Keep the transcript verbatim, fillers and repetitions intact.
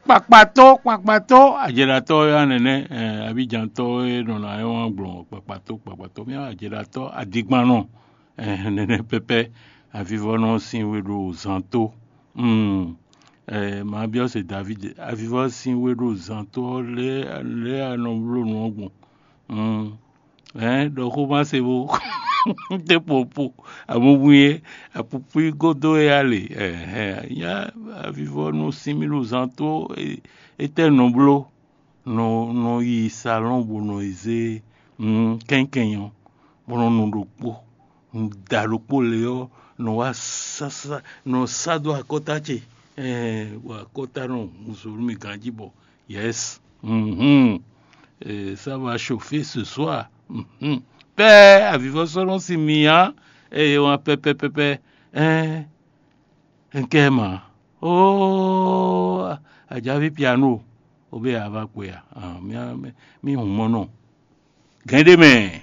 Kpakpató, kpakpató, ajɛɖatɔ́ wɛ wá nɛnɛ, eh, abíjantɔ́ wɛ nɔ ná wá gblɔn kpakpató, kpakpató, mía ajɛɖatɔ́ adigbannɔ, eh, nɛnɛ pɛpɛ, avivɔnɔ sín we ɖo zan tó. Hmm. Eh, ma byɔ́ se David, avivɔ sín we ɖo zan tó ɔ́ lé, lé anɔ bló nǔ ɔ́ gbɔn. Hmm. Hɛn ɖɔ xó ma se bo. Te popo, amumu ye, apupui godo ye ale. Ɛhɛn, nya avivɔ nu sinmi nu zan tó. Etɛ nɔ bló, nɔ nɔ yi salɔn bo nɔ yi zé kɛnkɛn ɔ́, bɔ nɔ nu ɖokpó, nu da ɖokpó le ɔ́, nɔ wá sasa nɔ sá dó akɔta ce. Ɛɛ, bɔ akɔta nɔ hun zo nú mi ganjí bɔ. Yes. Mhm. Eh, ça va chauffer ce soir. Mhm. Pɛ avivɔsɔlɔ si mi ya, eye wan pɛpɛpɛpɛ. Eh, nkɛ ma. Oh, ajavi piano. Obe ava kwe ya. Ah, mi mi mi hun mɔnɔ. Gɛn ɖe mɛ.